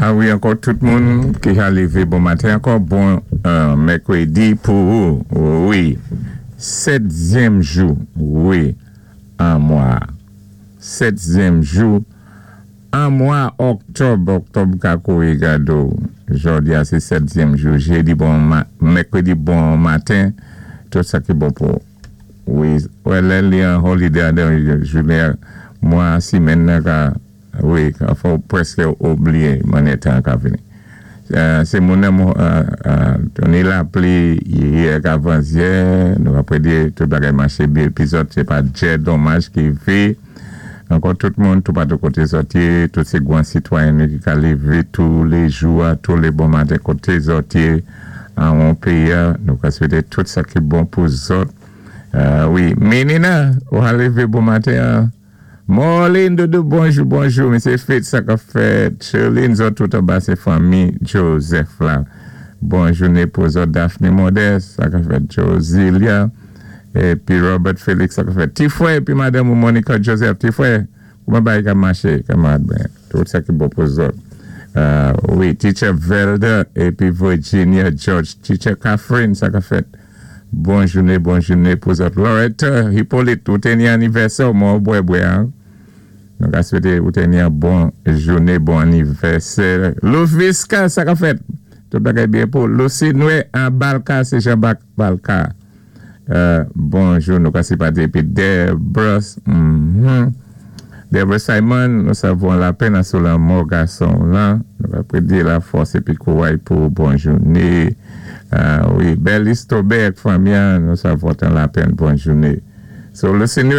A wi, ankò tout moun ki ka lévé bon maten ankò, bon mèkwédi pou ou, wi, sètzyèm jou, wi, an mwa, sètzyèm jou an mwa òktòb. Òktòb ka kouri gado. Jòdi a sé sètzyèm jou, jédi bon, mèkwédi bon maten, tout sa ki bon pou ou, wi. Wè, lè li an holiday a, jounen, mwa, simèn nan ka, wi, ka fè ou pwèské oubliyé mannyè tan ka vini. Sé moun nan ni lapli yè k avanzyè, nou ka prédi tout bagay maché byen épi zòt sé pa djè donmaj ki vi. Ankò tout moun toupatou koté zòt yé, tout sé gwan sitwayen nou ki ka lévé tou lé jou a, tou lé bon maten koté zòt yé an péyi a, nou ka swété tout sa ki bon pou zòt. Wi, Menina, ou ka lévé bon maten an. Morlin Doudou, bonjou, bonjou, Mesye Fitz, sa ka fèt. Sherline, zòt tout anba sé fanmi Joseph la. Bon jouné pou zòt. Daphne Modeste, sa ka fèt. Josilia, épi Robert Félix, sa ka fèt. Ti fwè, épi madanm ou Monica Joseph, ti fwè, kouman bagay ka maché, kanmarad mwen? Tout sa ki bon pou zòt. Wi, Teacher Velda, épi Virginia George, Teacher Catherine, sa ka fèt. Bon jouné, bon jouné pou zòt. Loretta Hippolyte, ou té ni anivèsè mwen bwè bwè, hein? Nou ka swété ou té ni an bon jouné, bon anivèsè. Louviska, sa ka fèt. Tout bagay byen pou Lucy Noé an Balka, sé Jean-Bak Balka. Bonjou, nou ka sipati épi Debra, Debra Simon, nou savon lapenn sou lanmò gason lan. Nou va prédi la fòs épi kouway pou bon jouné. Wi, Bel Istobert, fanmi, nou savon tan lapenn, bon jouné. So, Lucy.